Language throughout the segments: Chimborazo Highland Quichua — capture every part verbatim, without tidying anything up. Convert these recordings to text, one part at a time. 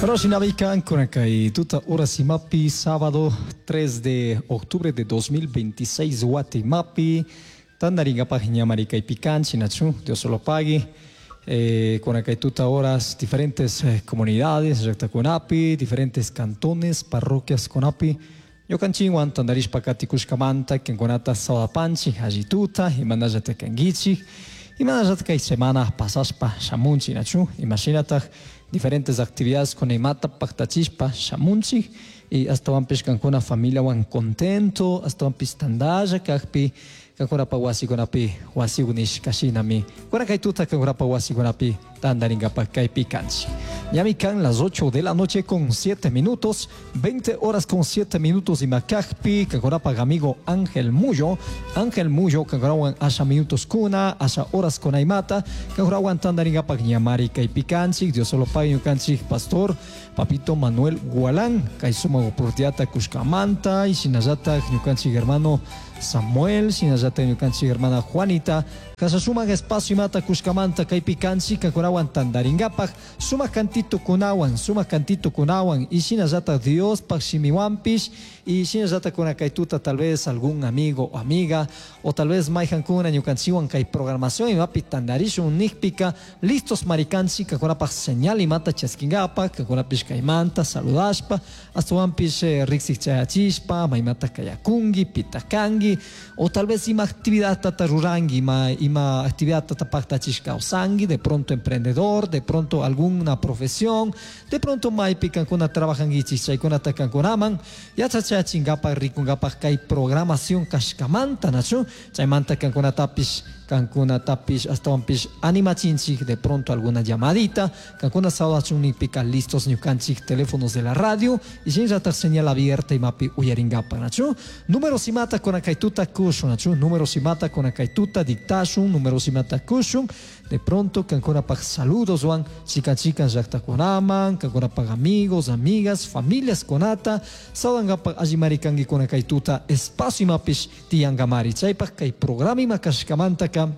Rosinabikan kay tuta horas imapi, sábado tres de octubre de dos mil veintiséis wata imapi tandaringapaj ñamari kaypi nachu. Dios lo pague. Eh, kay tuta horas diferentes eh, comunidades llaktakunapi, diferentes cantones, parroquias kunapi ñukanchikwan tandarishpa katikushkamanta kankunata saludapanchik. Alli tuta, imanallata kankichik? Imanallata kay semana pasashpa shamunchik, nachu? Imashinataj diferentes actividades con imata paktachishpa shamunchik? Y astawanpish kankuna familiawan contento, astawanpish tandalla kakpi kankunapa wasikunapi wasikunishka shinami kuna kay tuta kankunapa wasikunapi tandarinkapak kaypi kanchik. Ñami kan las ocho de la noche con siete minutos, veinte horas con siete minutos ima kakpi kankunapa amigo Ángel Muyo, Ángel Muyo kankunawan asha minutos kuna, asha horas kuna imata kankunawan tandarinkapak ñamari kaypi kanchik. Dios solo pague ñukanchik pastor Papito Manuel Gualán kay sumak oportunidadta kushkamanta y shinallatak ñukanchik hermano Samuel, shinallatak ñukanchik hermana Juanita kasa sumak espacio imata kushkamanta kaypi kanchik kankunawan tandarinkapak sumak cantito kunawan, sumak cantito kunawan y shinallatak Diospak shimiwanpish. Y shinallatak kuna kay tuta tal vez algún amigo o amiga o tal vez mayjankuna ñukanchikwan kay programación imapi tandarishun nikpika listos marikanchik kankunapak señal imata chaskinkapak, kankunapish kaymanta saludashpa, astawanpish eh, riksik chayachishpa maymata kayakunki, pita kanki o tal vez ima actividad tata ruranki, ima, ima actividad tata paktachish kawsanki, de pronto emprendedor, de pronto alguna profesión, de pronto maypi kankuna trabajankichik, chaykunata kankunaman yachachachinkapak rikunkapak kay programación kashkamanta, nachu? Chaymanta kankunatapish kankunatapish astawanpish animachinchik. De pronto alguna llamadita kankuna saludachun nikpika listos ñukanchik teléfonos de la radio y shinallatak señal abierta imapi uyarinkapak, nachu? Números imata kuna kay tuta kushun, nachu? Números imata kuna kay tuta dictashun, números imata kushun. De pronto kankunapak saludos wan chikan chikan llaktakunaman, kankunapak amigos, amigas, familias kunata saludankapak allimari kanki. Kuna kay tuta espacio imapish tiyankamari. Chaypak kay programa ima kashkamantaka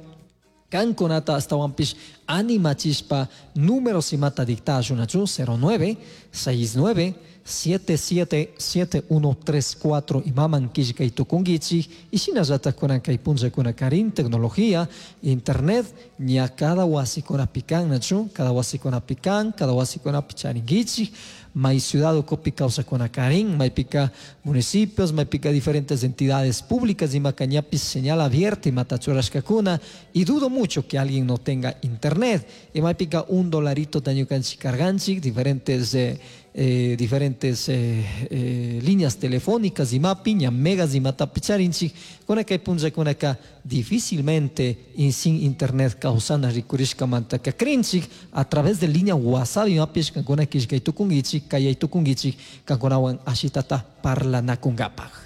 kankunata astawanpish animachishpa números imata dictashun, nachu? cero nueve seis nueve siete siete siete uno tres cuatro imaman killkay tukunkichik. Y shinallatak kunan kay punllakunakarin tecnología, internet ña cada wasikunapi kan, nachu? Cada wasikunapi kan, cada wasikunapi charinkichik. May ciudad ukupi kawsakunakarin, maypika municipios, maypika diferentes entidades públicas imaka ñapish señal abierta imata churashkakuna y dudo mucho que alguien no tenga internet. Y maypika un dolarito ñukanchik carganchik diferentes eh, eh, diferentes eh, eh, líneas telefónicas imapi ña megas imatapi charinchik. Kuna kay punllakunaka difícilmente y sin internet kawsana rikurishkamantaka krinchik. A través de línea WhatsApp imapish kankuna killkay tukunkichik, kayay tukunkichik kankunawan ashitata parlanakunkapaj.